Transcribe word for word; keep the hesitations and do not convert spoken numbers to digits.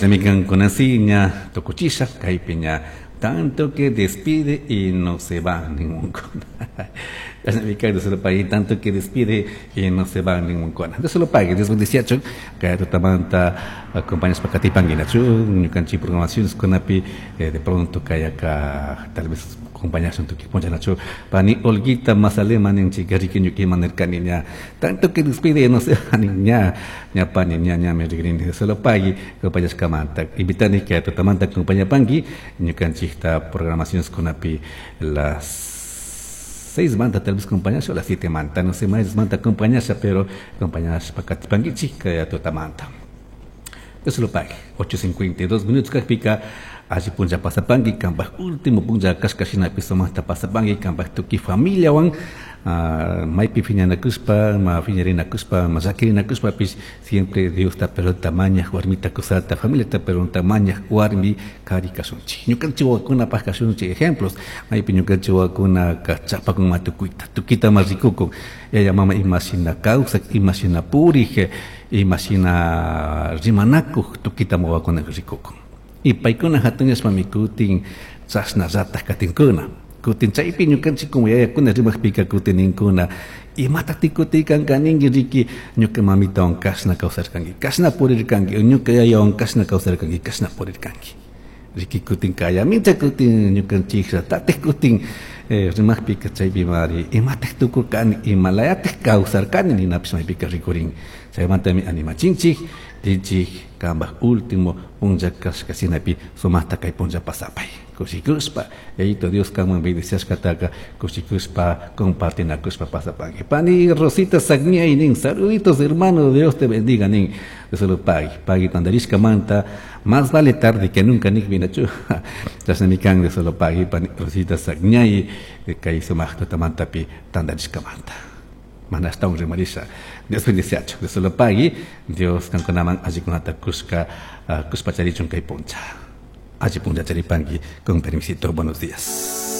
Chashnami kankunasi ña tukuchisha kaypi ña tanto que despide y no se va ningún. Chashnami kan, Dios lo pague, tanto que despide y no se va ningún. Dios lo pague, Dios bendiciachun kay tutamanta acompañas pakatipanguinachu ñukanchik programaciones kunapi. De pronto kay acá tal vez acompañasun tuki punchanachu. Pani Olguita Mazalema ninchik riki ñukiman nirkani ña tanto que despide y no se va ni ña ña pani ña ña me rigrini. Dios lo pague acompañashkamanta. Invitani que tutamanta acompañapanki ñukanchikta programaciones kunapi, las seis manta tal vez acompañasha o las siete manta, no sé más manta acompañasha, pero acompañashpa katipankichik kay tutamanta. Dios lo pague. ocho cincuenta y dos minutos kakpika, alli punlla pasapanki, kanpaj último punlla kashka shinapi sumaqta pasapanki kanpaj tukuy familiawan, uh, maypi phiñanakushpa, ma phiñarinakushpa, ma llakirinakushpapish, siempre Diosta perdonta mañaj warmita kusata, familiata perdonta mañaj warmi kari kashunchik. Ñukanchik wawakunapaj kashunchik ejemplos, maypi ñukanchik wawakuna chapakun ma tukuyta, tukuyta ma rikukun, yaya mama imashina kawsak, imashina purik, imashina rimanakuj, tukuyta wawakuna rikukun. Y paykuna hatunyashpami kutin chashnallataj katinkuna. Kutin chaypi ñukanchik como yayakuna rimajpika kutin ninkuna: "Imatati kutikanka ninki? Riki, ñuka mamitawan kashna kawsarkanki, kashna purirkanki, ñuka yayawan kashna kawsarkanki, kashna purirkanki". Riki, kutin kayamincha kutin ñukanchik kutin eh, rimajpika chaypi mari imataj tukurkani, imalayataj kawsarkani ninapish maypika rikurin. Chaymantami animachinchik, tinchik kanpaj último punlla kashka shinapi sumaqta kay punlla pasapay kushikushpa. Yayito Dios kanman bendiciashkataka kushikushpa compartinakushpa pasapanki. Pani Rosita Sagniay nin: "Saluditos, hermano, Dios te bendiga", nin. Dios lo pague, pague tandarishkamanta. Más vale tarde que nunca nik vinachu. Chashnami kan. Dios lo pague, pani Rosita Sagniay, kay sumaq tutamantapi tandarishkamanta. Mana ashtawan rimarisha. Dios bendiciachu. Dios lo pague. Dios kankunaman allikunata kushka uh, kushpa charichun kay puncha. Alli puncha charipanki. Con permisito, buenos días.